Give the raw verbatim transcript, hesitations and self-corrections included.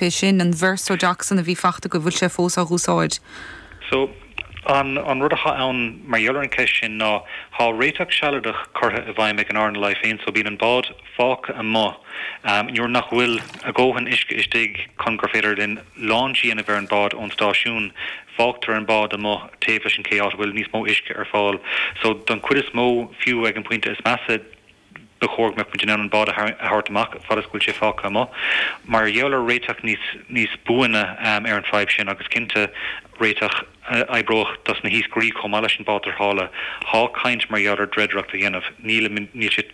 é sin an Verso-Doxin a bhí fachta go bhfuil sé fós á úsáid. So an an rud atá ann mar gheall ar an cheist sin ná tá réiteach sealadach curtha i bhfeidhm ag an RNLI féin so bíonn an bád fágtha amuigh um, nuair nach bhfuil a dhóthain uisce istigh chun gur féidir linn launch a dhéanamh ar an bád ón stáisiún fágtar an bád amuigh taobh leis an ché áit bhfuil níos mó uisce ar fáil so don chuid is mó fiú ag an pointe is measa ba chóir go mbeadh an bád a thabhairt amach fad is go bhfuil sé fágtha amuigh. Mar gheall ar réiteach níos níos buaine um, ar an fadhb sin agus cinnte réiteach uh, oibreoidh dos na hiascairí chomh maith leis an bád tarrthála tá caint mar gheall ar dreidireacht a dhéanamh níl níl sé